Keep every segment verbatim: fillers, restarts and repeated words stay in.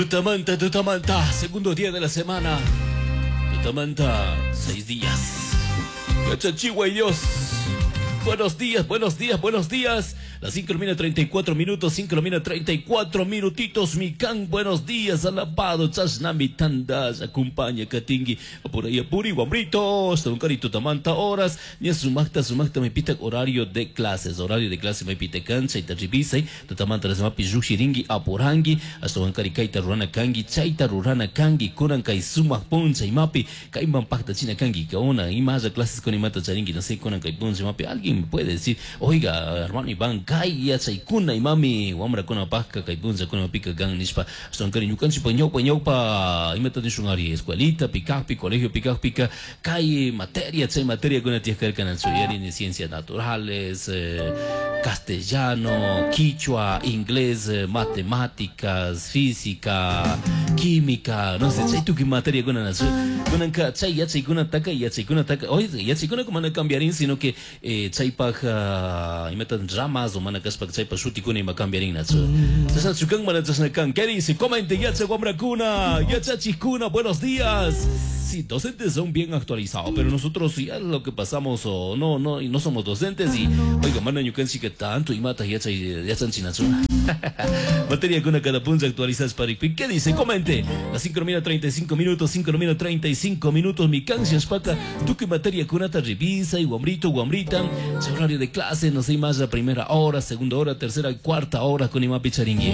Tutamanta, tutamanta, segundo día de la semana. Tutamanta, seis días. Cachachigua y Dios. Buenos días, buenos días, buenos días. Las cinco de treinta y cuatro minutos, cinco de treinta y cuatro minutitos. Mi can, buenos días, alabado. Chasnami tandas, acompaña, katingi. Por ahí, apuri, guambritos. Carito, tamanta horas. Ni sumacta, sumacta, me pita horario de clases. Horario de clase, me pita cancha y tarribisai. Tutamanta, las mapi, yushiringi, apurangi. Hasta wankari, kaita, rurana, kangi, chaita, rurana, kangi, kuran, kai, sumac, puncha, y mapi. Kaiman, pacta, china, kangi, kaona. Y más clases con imata, charingi, no sé, kuran, kai, puncha, mapi. Alguien me puede decir, oiga, hermano Iván, kay yachaykuna imami wamrakuna pajka kay punllakuna pika kan nishpa ashtawankari ñukanchikpa ñawpa ñawpa imata nishun ari escuelita pikakpi colegio pikakpika kay materia chay materiakuna tiyajkarkanachu yarini ciencias naturales, eh, castellano, quichua, inglés, eh, matemáticas, física, química, no sé, chay tukuy materiakuna nachu kunanka chay yachaykunataka yachaykunataka oye yachaykuna mana cambiarin sino que eh, chaypaj uh, imata ramas o mana kashpa chaypa shutikuna ima cambiarin nachu chashnachu kan mana chashna kan. ¿Qué dice? Comente yachay wamrakuna, yachachikuna, buenos días. Sí, docentes son bien actualizados, pero nosotros ya lo que pasamos o no, no, y no somos docentes y oiga, mana ñukanchik tanto imata yachay yachanchinachu. Materia kuna cada punto actualizadas para. ¿Qué dice? Comente. Las cinco treinta y cinco minutos, cinco treinta y cinco minutos, mi canción paca, tú que materia kunata revisa y guambrito, guambrita, horario de clase, no sé más la primera hora, segunda hora, tercera, cuarta hora con imapi charingui.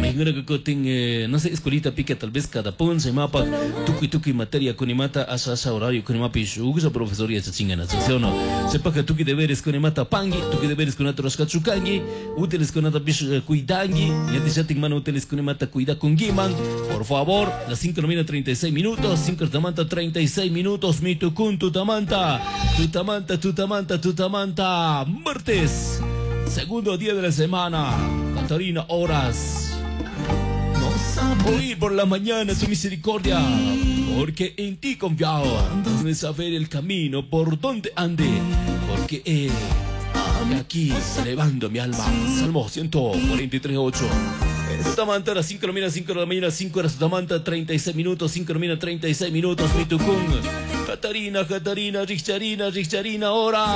Que no sé, escuelita pica tal vez cada punza y mapa, tuki tuki materia con imata, asa asa horario con imapi shugusa profesor y chingana, ¿sí o no? Sepa que tuki deberes con imata pangi, tuki deberes con otros cachucangi, útiles con ata bish cuidangi, ya te chatin mano útiles con imata cuida con giman, por favor, las cinco treinta y seis minutos, cinco tamanta treinta y seis minutos, mi tucun, tutamanta, tutamanta, tutamanta, tutamanta, martes, segundo día de la semana, Catarina, horas. Oír por la mañana tu misericordia, porque en ti confiaba. Hazme saber el camino por donde ande, porque he aquí elevando mi alma. Salmo ciento cuarenta y tres, ocho. Tutamanta a las cinco de la mañana, cinco de la mañana, cinco horas, Tutamanta, treinta y seis minutos, cinco de la mañana, treinta y seis minutos, mi tucún. Catarina, Catarina, Richarina, Richarina, hora.